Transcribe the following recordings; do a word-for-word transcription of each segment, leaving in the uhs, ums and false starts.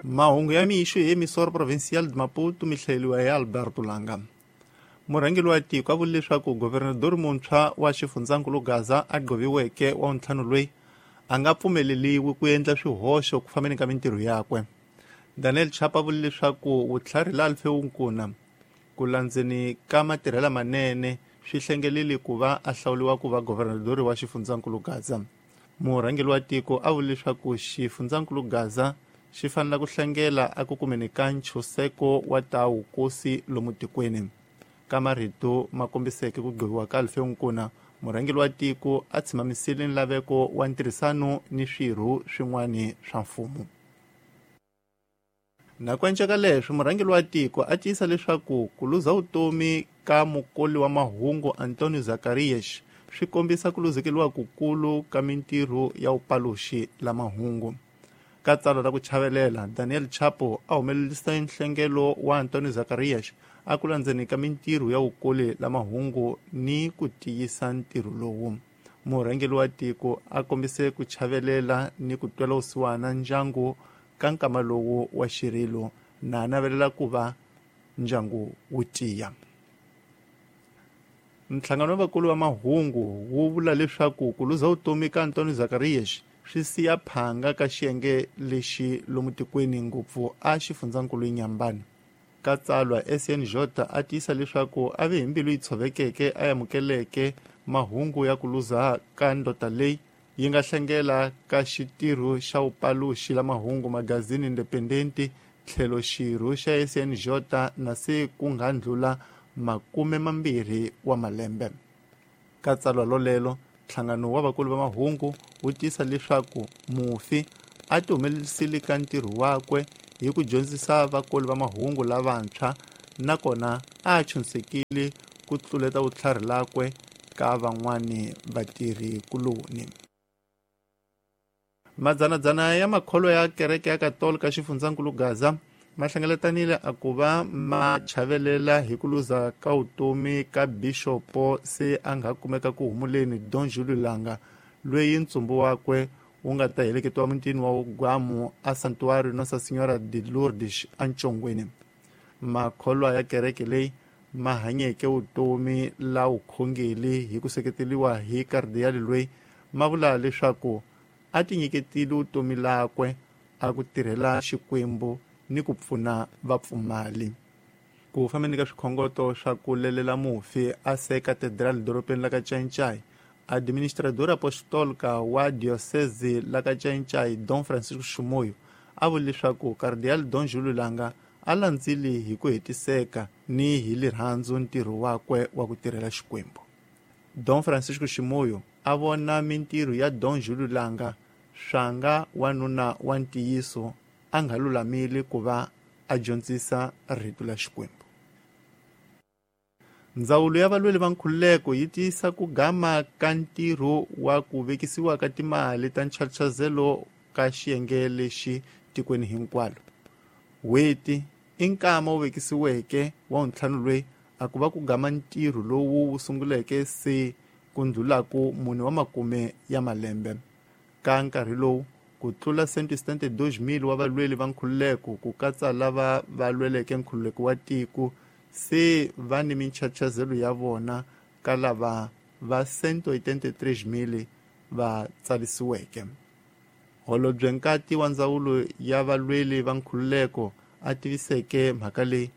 Mahungu ya mixo hi Emissora Provincial de Maputo mi hlayeriwa hi Alberto Langa. Murhangeri wa tiko a vule leswaku governador muntshwa wa xifundzankulu Gaza a gqoviweke wa ntlhanu loyi a nga pfumeleriwi ku endla swihoxo ku fambeni ka mintirho yakwe. Daniel Chapo a vule leswaku vutlhari la Alfeu Nkuna ku landzeni ka matirhela manene swi hlengelele ku va a hlawuriwa ku va governador wa xifundzankulu Gaza. Murhangeri wa tiko a vule leswaku xifundzankulu Gaza xi fanele ku hlengela a ku kumeni ka nchuseko wa ta wukosi lomu tikweni. Ka marito ma kombiseke ku gqiviwa ka Alfeu Nkuna, murhangeri wa tiko a tshimamisile nlaveko wa ntirhisano ni swirho swin'wana swa mfumo. Na ku enceka leswi, murhangeri wa tiko a tiyisa leswaku ku luza vutomi ka mukoli wa mahungu Antonio Zacarias swi kombisa ku luzekeriwa kukulu ka mintirho ya vupaluxi la mahungu. Ka tsalwa ra ku chavelela, Daniel Chapo a humelerisa nhlengelo wa Antonio Zacarias a ku landzeni ka mintirho ya vukoli la mahungu ni ku tiyisa ntirho lowu. Murhangeri wa tiko a kombise ku chavelela ni ku twela vusiwana ndyangu ka nkama lowu wa xirilo na navelela ku va ndyangu wu tiya. Nhlangano wa vakulu va mahungu wu vula leswaku ku luza vutomi ka Antonio Zacarias swi siya phanga ka xiyenge lexi lomu tikweni ngopfu a xifundzankulu Inhambane. Ka tsalwa S N J a tiyisa leswaku a ve hi mbilu yi tshovekeke a amukeleke mahungu ya ku luza ka ndota leyi yi nga hlengela ka xitirho xa vupaluxi la mahungu magazini Independente tlhelo xirho xa S N J na se ku nga ndlula makume mambirhi wa malembe. Ka tsalwa lolelo, nhlangano wa vakulu va mahungu wu tiyisa leswaku mufi a ti humelerisile ka ntirho wakwe hi ku dyondzisa vakoli va mahungu lavantshwa nakona a chunsekile ku tluleta vutlhari lakwe ka van'wani vatirhi kuloni. Madzanadzana ya makholo ya kereke ya Katolika xifundzankulu Gaza ma hlengeletanile a ku va ma chavelela hi ku luza ka vutomi ka bishopo se a nga kumeka ku humuleni Don Julio Langa loyi ntsumbu wakwe wu nga ta heleketiwa mutini wa Gwamu a Santuário Nossa Senhora de Lourdes eNtshongweni. Makholwa ya kereke leyi ma hanyeke vutomi la vukhongeri hi ku seketeriwa hi kardiyali loyi ma vula leswaku a tinyiketile vutomi lakwe a ku tirhela Xikwembu ni ku pfuna vapfumali. Ku fambeni ka swikhongoto swa ku lelela mufi a se katedral dorobeni la ka Ncaincaí, administrador apostólica wa diocese la ka Ncaincaí Dom Francisco Chimoio a vule leswaku Cardeal Dom Julio Langa a landzile hi ku hetiseka ni hi rirhandzu ntirho wakwe wa ku tirhela Xikwembu. Dom Francisco Chimoio a vona mintirho ya Dom Julio Langa swanga wanuna wa ntiyiso a nga lulamile ku va a dyondzisa rito la Xikwembu. Ndzawulo ya valweli va nkhululeko yi tiyisa ku gama ka ntirho wa ku vekisiwa ka timali ta nchachazelo ka xiyenge lexi tikweni hinkwalo. Weti i nkama wu vekisiweke wa ntlhanu loyi a ku va ku gama ntirho lowu wu sunguleke se ku ndlulaku mune wa makume ya malembe. Ka nkarhi lowu ku tlula cento e setenta e dois mil wa valweli va nkhululeko ku katsa lava va lweleke nkhululeko wa tiko se va ni minchachazelo ya vona ka lava va cento e oitenta e três mil va tsarisiweke. Holobye Nkati wa ndzawulo ya valweli va nkhululeko a tiviseke mhaka leyi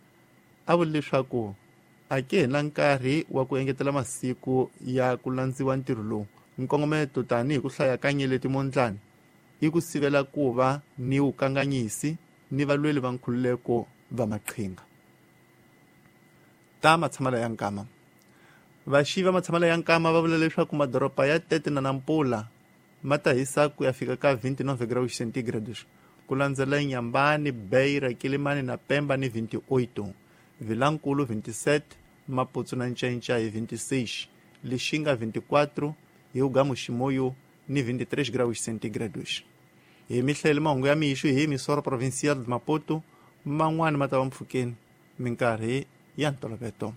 a vule leswaku a ke na nkarhi wa ku engetela masiku ya ku landziwa ntirho lowu. Nkongometo tanihi ku hlaya ka nyeleti mondlani i ku sivela ku va ni vukanganyisi ni valweli va nkhululeko va maqhinga. Ta matshamelo ya nkama. Vaxivi va matshamelo ya nkama va vula leswaku madoroba ya Tete na Nampula ma ta hisa ku ya fika ka vinte e nove graus centígrados ku landzela Inhambane, Beira, Quelimane na Pemba ni vinte e oito, Vilankulu vinte e sete, Maputo na Ncaincaí vinte e seis, Lixinga vinte e quatro, Hugamu Chimoio ni vinte e três graus centígrados. Hi mihlayelo mahungu ya mixo hi Emissora Provincial de Maputo, man'wana ma ta va mpfhukeni minkarhi ya ntolovelo.